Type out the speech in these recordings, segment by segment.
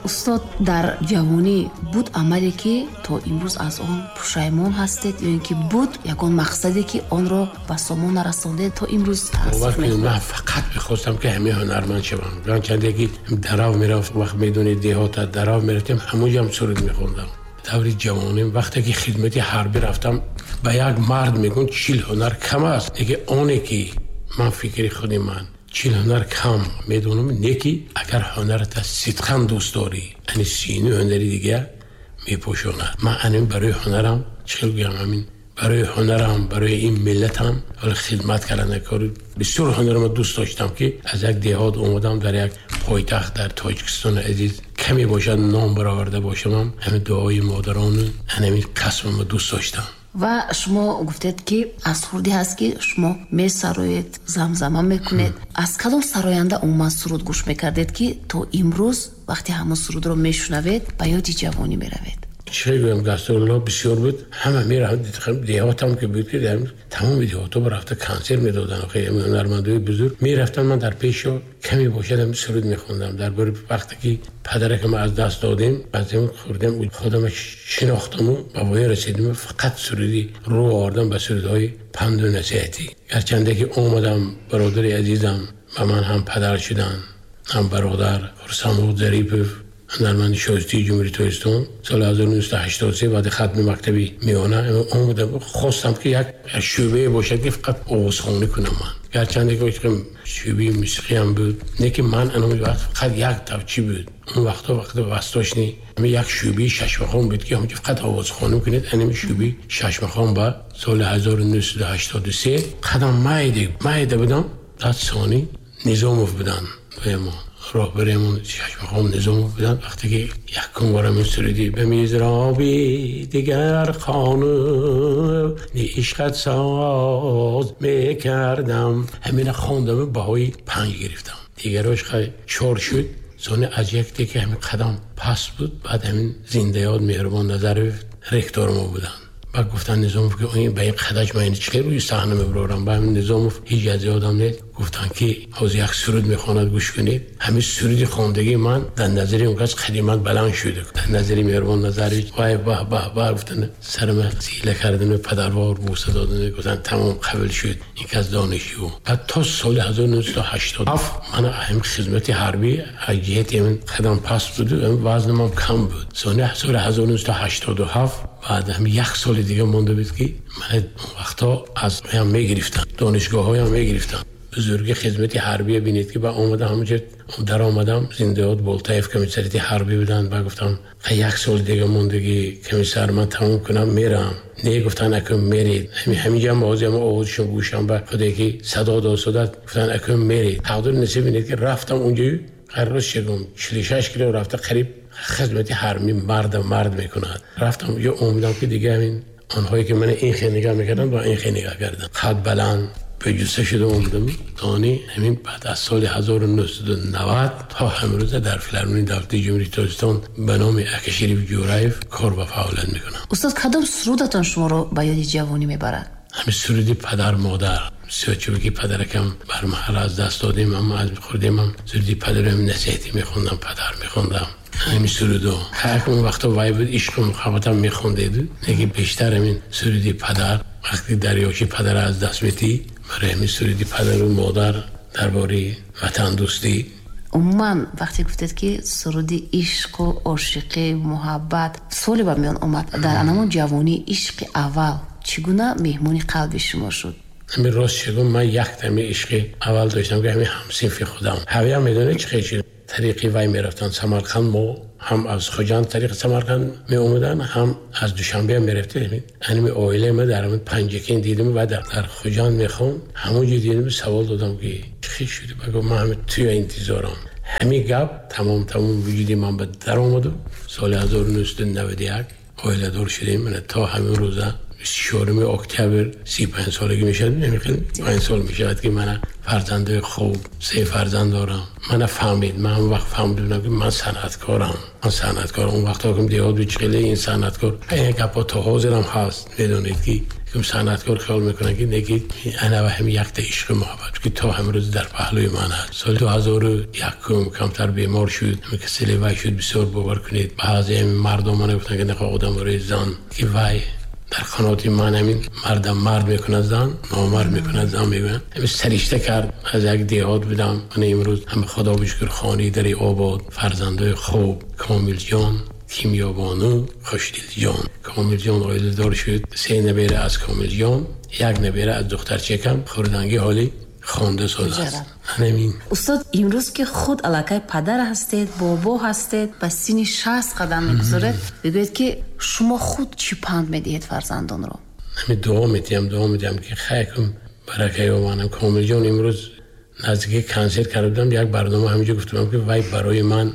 Устод, дар ҷавонӣ буд амале, ки то имрӯз аз он пушаймон ҳастед, ё ин ки буд ягон мақсаде, ки онро ба сомон нарасондед, то имрӯз таассуф мехӯред? Ман фақат мехостам, ки ҳамин ҳунарманд шавам. Чанде ки дарав мерафт, вақт медонед, деҳота дарав мерафтем, ҳамонҷо ҳам суруд мехондам. Даври ҷавоним, вақте ки хидмати ҳарбӣ рафтам, ба як мард мегӯн 40 ҳунар кам аст. Лекин оне ки ман фикри худи ман 40 ҳунар кам медонам, не ки агар ҳунарата сидқан дӯст дорӣ, ани сину ҳунари дига мепӯшонад. Ман анин барои ҳунарам, чӣ гӯям, ҳамин барои ҳунарам, барои ин миллатам ҳола хидмат кардан кори бисёр ҳунарама дӯст доштам, ки аз як деҳот омадам дар як пойтахт дар Тоҷикистони азиз, каме бошад ном бароварда бошамам, ҳамин дуои модарону ҳамин касбама дӯст доштам. Ва шумо гуфтед, ки аз хурдӣ ҳаст, ки шумо месароед, замзама мекунед. Аз кадом сароянда умуман суруд гӯш мекардед, ки то имрӯз вақте ҳамон сурудро мешунавед, ба ёди ҷавонӣ меравед? Чӣ гӯям, гастролҳо бисёр буд, ҳама мерафт, деҳотам ки буд, ки тамоми деҳотҳо рафта консерт медоданд, ҳунармандои бузург мерафтанд. Ман дар пешо каме бошад ҳам суруд мехондам. Дар бори вақте ки падаракам аз даст додем, аз хурдем худам шинохтаму ба воя расидем, фақат суруди рӯ овардам ба сурудҳои панду насиҳатӣ. Гарчанде ки омадам, бародари азизам ба ман ҳам падар шуданд, ҳам бародар, Хурсандмуҳ Зарипов, ҳунарманди шоистаи Ҷумҳурии Тоҷикистон, соли 1983 баъди хатми мактаби миёна омадам, хостам, ки як шӯъбае бошад, ки фақат овозхонӣ кунам ман. Гарчанде ки шӯъбаи мусиқиам буд, не ки ман ан вақт фақат як тавчӣ буд. Он вақтҳо вақти восточный як шӯъбаи шашмақом буд, ки ҳамҷо фақат овозхонӣ кунед. Анами шӯъбаи шашмақом ба соли 1983 қадам майде майда будам, дад сони Низомов буданд, мо роҳбаремон шашмақом Низомов буданд. Вақте ки якум борам ин суруди ба мизроби дигар қону ишқат соз мекардам, ҳамина хондам, баҳои 5 гирифтам. Дигарош хай 4 шуд. Сони аз якте ки ҳамин қадам паст буд, баъд ҳамин зиндаёд Меҳрубон Назаров ректор мо буданд. Баъд гуфтанд Низомов, ки ба ин қадаш ман ин чӣ рӯи саҳна мебарорам? Ба ҳамин Низомов ҳеҷ аз ёдам нест, гуфтанд, ки ҳозир як суруд мехонад, гӯш кунед. Ҳамин суруди хондагии ман дар назари он кас қадимат баланд шуд, дар назари Меҳрубон Назарович. Вай, баҳ баҳ баҳ гуфтанд, сарама зила кардан, падарвор бӯса додан, гуфтанд тамом, қабул шуд ин кас донишҷӯ. Баъд то соли 1987 ман ҳамин хизмати ҳарбӣ аз ҷиҳати ҳамин қадам паст буд, вазнамам кам буд. Сони соли 1987 баъд ҳамин як соли дига монда буд, ки ман вақтҳо аз ҳам мегирифтам, донишгоҳҳоям мегирифтам. Бузурги хизмати ҳарбия бинед, ки ба омада ҳамонҷо даромадам, зиндаёд Болтаев комиссарияти ҳарбӣ буданд. Ба гуфтам, як сол дига мондагӣ, комиссар, ман тамом кунам, мерам. Не, гуфтан, акун меред. Ҳаминҷо ҳам ҳозир ҳам овозшон гӯшам ба худе ки садо дод судад. Гуфтан, акун меред. Тақдир насиб бинед, ки рафтам онҷо, ҳар рӯз шигум 46 кило рафта, қариб хизмати ҳарбӣ марда мард мекунад. Рафтам онҷо, омадам, ки дига ҳамин онҳое ки ман ин хел нигоҳ мекарданд, ба ин хел нигоҳ карданд. Қад баланд ба ҷусса шуда омадам. Тони ҳамин баъд аз соли 1990 то ҳамрӯза дар филармонии давлатии Ҷумҳурии Тоҷикистон ба номи Акашариф Ҷӯраев кор ва фаъолият мекунам. Устод, кадом сурудатон шуморо ба ёди ҷавонӣ мебарад? Ҳамин суруди падар модар бисёр, чунки падаракам бармаҳал аз даст додем, аммо аз хурдемам суруди падарам насиҳатӣ мехондам, падар мехондам ҳамин сурудо. Ҳар он вақто вай буд, ишқу муҳаббатам мехондеду, лекин бештар ҳамин суруди падар, вақте дарёчи падара аз даст метӣ, барои ҳамин суруди падару модар дар бораи ватандӯстӣ. Умуман, вақте гуфтед, ки суруди ишқу ошиқӣ, муҳаббат, суоле ба миён омад: дар анамон ҷавонӣ ишқи аввал чӣ гуна меҳмони қалби шумо шуд? Ҳамин рост шигум, ман яктами ишқи аввал доштам, ки ҳамин ҳамсинфи худам. Ҳавия медонед, чӣ хел шуд? Тариқи вай мерафтанд Самарқанд, мо ҳам аз Хуҷанд тариқи Самарқанд меомаданд, ҳам аз Душанбе мерафтем. Ҳамин оилаи ма дар ҳамин Панҷакент дидем ва дар Хуҷанд мехонд, ҳамон ҷо дидем, савол додам, ки чӣ хел шуд? Ба гуфт, ман ҳамин туя интизорам. Ҳамин гап тамом тамом вуҷуди ман ба даромаду соли 1991 оиладор шудем. То ҳамин рӯза 24 октябр 35 солагӣ мешавад, намехел 5 сол мешавад, ки мана фарзандаи хуб, се фарзанд дорам. Мана фаҳмид, ман он вақт фаҳмидам, ки ман санъаткорам, ман санъаткорам. Он вақт ҳоким деҳот буд, чӣ хеле ин санъаткор, ин гапҳо то ҳозирам ҳаст. Медонед, ки Санъаткор хаёл мекунанд, ки неки ана ва ҳами якта ишқу муҳаббат, ки то ҳамрӯз дар паҳлӯи ман аст. Соли 2001 камтар бемор шуд, ҳами касали вай шуд, бисёр бовар кунед. Баъзе ҳами мардон мана гуфтанд, ки нахоҳ одам барои зан, ки вай дар қаноти ман ҳамин мардам мард мекунад зан, номард мекунад зан мегӯянд. Ҳамин саришта кард, аз як деҳот будам. Ман имрӯз ҳам Худо бишукр хонаи дари обод, фарзандои хуб, Комилҷон, Кимёбону, Хушдилҷон. Комилҷон оиладор шуд, 3 набера аз Комилҷон, 1 набера аз духтарчакам, хурданги ҳоли хонда соз аст. Ҳамин. Устод, имрӯз ки худ аллакай падар ҳастед, бобо ҳастед, ба синни 60 қадам мегузоред, бигӯед ки шумо худ чӣ панд медиҳед фарзандонро? Ҳамин дуо медиҳам, ки хайкум барака ёбанам. Комилҷон имрӯз наздики консерт карда будам, як барнома ҳаминҷо гуфтам, ки вай барои ман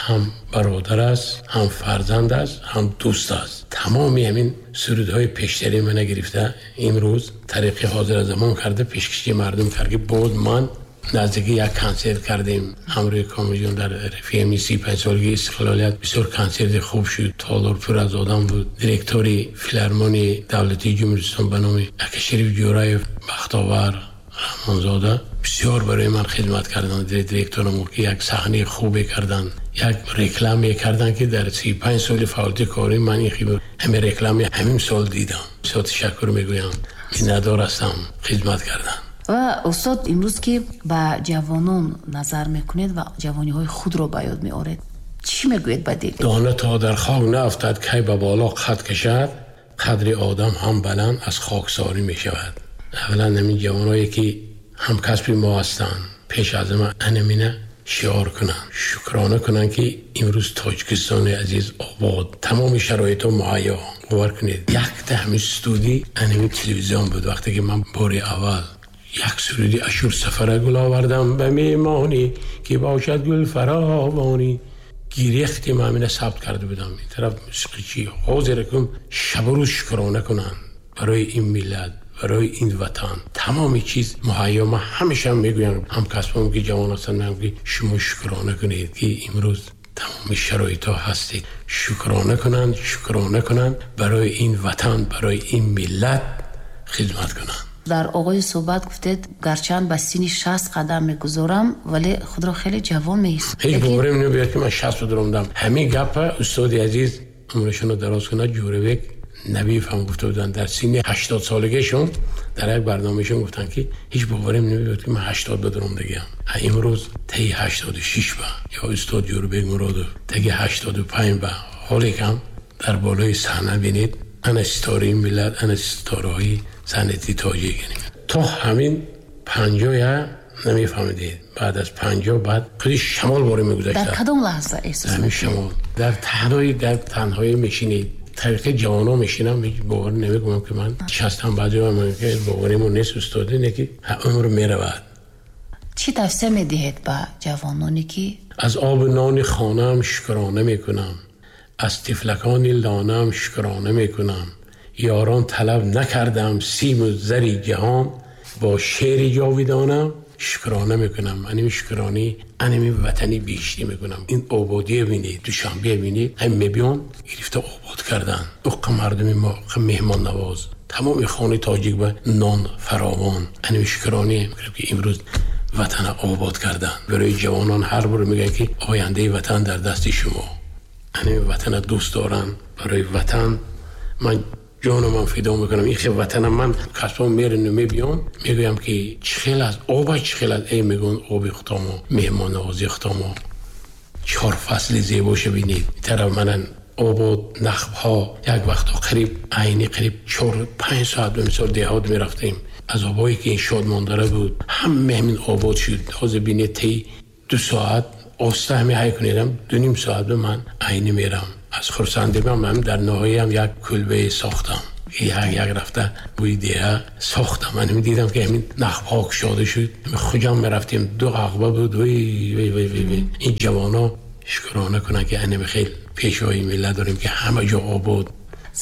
ҳам бародар аст, ҳам фарзанд аст, ҳам дӯст аст. Тамоми ҳамин сурудҳои пештари мана гирифта имрӯз тариқи ҳозира замон карда пешкаши мардум кард, ки боз ман наздики як консерт кардем ҳамроҳи Комилҷон дар ФМ 35 солагии истиқлолият. Бисёр консерти хуб шуд, толор пур аз одам буд. Директори филармонии давлатии Ҷумҳуристон ба номи Акашариф Ҷӯраев Бахтовар Раҳмонзода бисёр барои ман хидмат карданд. Директорам ки як саҳнаи хубе карданд, як рекламе карданд, ки дар 35 соли фаъолияти кории ман ин ҳамин рекламе ҳамин сол дидам. Бисёр ташаккур мегӯям, миннатдор ҳастам, хидмат карданд. Ва устод, имрӯз ки ба ҷавонон назар мекунед ва ҷавониҳои худро ба ёд меоред, чӣ мегӯед ба дил? Дона то дар хок наафтад, кай ба боло қад кашад, қадри одам ҳам баланд аз хоксорӣ мешавад. Аввалан ҳамин ҷавоное ки ҳамкасби мо ҳастанд, пеш аз ҳама анамина шиор кунанд, шукрона кунанд, ки имрӯз Тоҷикистони азиз обод, тамоми шароитҳо муҳайё. Бовар кунед, якта ҳамин студия анамин телевизион буд. Вақте ки ман бори аввал як суруди Ашур Сафара гул овардам ба меҳмонӣ, ки бошад гул фаровонӣ, гирехти ман ҳамина сабт карда будам. Ин тараф мусиқичӣ ҳозир кун шабу рӯз шукрона кунанд барои ин миллат, барои ин ватан. Тамоми чиз муҳайё. Ман ҳамеша мегӯям ҳамкасбам ки ҷавон ҳастанд, мегӯям ки шумо шукрона кунед, ки имрӯз тамоми шароитҳо ҳастед. Шукрона кунанд, шукрона кунанд, барои ин ватан, барои ин миллат хидмат кунанд. Дар оғози суҳбат гуфтед, гарчанд ба синни 60 қадам мегузорам, вале худро хеле ҷавон меҳисобам. Ҳеҷ боварим намеояд, ки ман 60 даромадам. Ҳамин гапа устоди азиз умрашонро дароз кунад, Ҷӯрабек Набиев ҳам гуфта буданд, дар синни 80 солагиашон дар як барномаашон гуфтанд, ки ҳеҷ боварим намеояд, ки ман 80 даромадагиам. Имрӯз таги 86 ба ё устод Ҷӯрабек Муродов таги 85 ба, ҳоле кам дар болои саҳна бинед, ана ситораи миллат, ана ситораҳои санъати тоҷик. То ҳамин 50 намефаҳмидед. Баъд аз 50 баъд худи шамол боре мегузашт. Дар кадом лаҳза эҳсос мекунед? Шамол дар танҳоӣ мешинед. Тариқи ҷавонон мешинам, ҳеҷ бовар намекунам, ки ман 60 баъзе ман ки боваримон нест устод, ине ки умр меравад. Чӣ тавсия медиҳед ба ҷавононе ки аз оби нони хонаам шукрона мекунам, аз тифлакони лонаам шукрона мекунам, ёрон талаб накардам симу зари ҷаҳон, бо шеъри ҷовидонам шукрона мекунам. Анами шукронӣ, анами ватани биҳиштӣ мекунам. Ин ободие бинед, Душанбе бинед, ҳам мебиён гирифта обод кардан. Уққа мардуми мо, уққа меҳмоннавоз, тамоми хонаи тоҷик ба нон фаровон. Анами шукронӣ мекунам, ки имрӯз ватана обод кардан. Барои ҷавонон ҳар бор мегӯянд, ки ояндаи ватан дар дасти шумо. Анами ватана дӯст доранд. Барои ватан ман ҷонамам фидо мекунам. Ин хел ватанам ман касбом мерину мебиём, мегӯям ки чӣ хел аст, оба чӣ хел аст. Эй, мегӯянд оби худомо, меҳмоннавозии худомо, 4 фасли зебоша бинед. Ин тараф манан обод, нахбҳо, як вақто қариб айни қариб 4-5 соат ба мисол деҳот мерафтем. Аз обое ки ин шодмондара буд, ҳама ҳамин обод шуд. Ҳозир бинед, тей 2 соат оста ҳами ҳай кунедам, 2.5 соат ба ман айни мерам. Аз хурсандиам ман дар ноҳияам як кулбае сохтам. Як рафта бӯи деҳа сохтам. Ман ҳамин дидам, ки ҳамин нахбҳо кушода шуд. Хуҷам мерафтем, 2 ағба буд. Вой, вой, вой, вой, вой. Ин ҷавоно шукрона кунанд, ки анами хел пешвои миллат дорем, ки ҳама ҷо обод.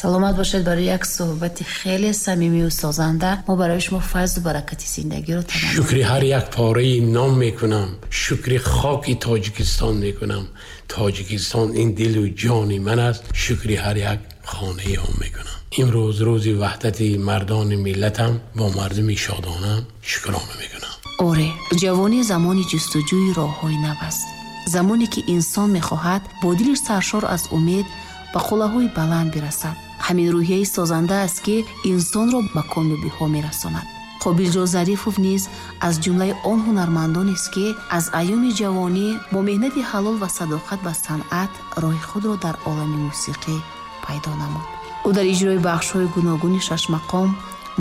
Саломат бошед барои як суҳбати хеле самимию созанда. Мо барои шумо файзу баракати зиндагиро таманно. Шукри ҳар як пораи ном мекунам, шукри хоки Тоҷикистон мекунам. Тоҷикистон ин дилу ҷони ман аст. Шукри ҳар як хонаи ом мекунам. Имрӯз рӯзи ваҳдати мардони миллатам, бо мардуми шодонам шукрона мекунам. Оре, ҷавонӣ замони ҷустуҷӯи роҳҳои нав аст. Замоне ки инсон мехоҳад бо дили саршор аз умед ба қуллаҳои баланд бирасад. Ҳамин рӯҳияи созанда аст, ки инсонро ба комёбиҳо мерасонад. Қобилҷон Зарифов низ аз ҷумлаи он ҳунармандонест, ки аз айёми ҷавонӣ бо меҳнати ҳалол ва садоқат ба санъат роҳи худро дар олами мусиқӣ пайдо намуд. Ӯ дар иҷрои бахшҳои гуногуни шашмақом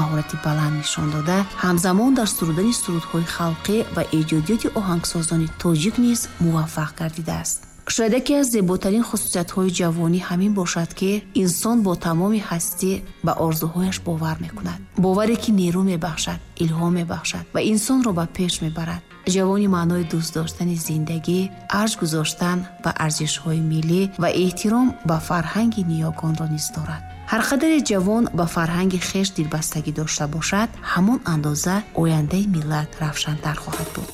маҳорати баланд нишон дода, ҳамзамон дар сурудани сурудҳои халқӣ ва эҷодиёти оҳангсозони тоҷик низ муваффақ гардидааст. Шояд яке аз зеботарин хусусиятҳои ҷавонӣ ҳамин бошад, ки инсон бо тамоми ҳастӣ ба орзуҳояш бовар мекунад. Боваре, ки нерӯ мебахшад, илҳом мебахшад ва инсонро ба пеш мебарад. Ҷавонӣ маънои дӯст доштани зиндагӣ, арҷ гузоштан ба арзишҳои миллӣ ва эҳтиром ба фарҳанги ниёгонро низ дорад. Ҳар қадаре ҷавон ба фарҳанги хеш дилбастагӣ дошта бошад, ҳамон андоза ояндаи миллат равшантар хоҳад буд.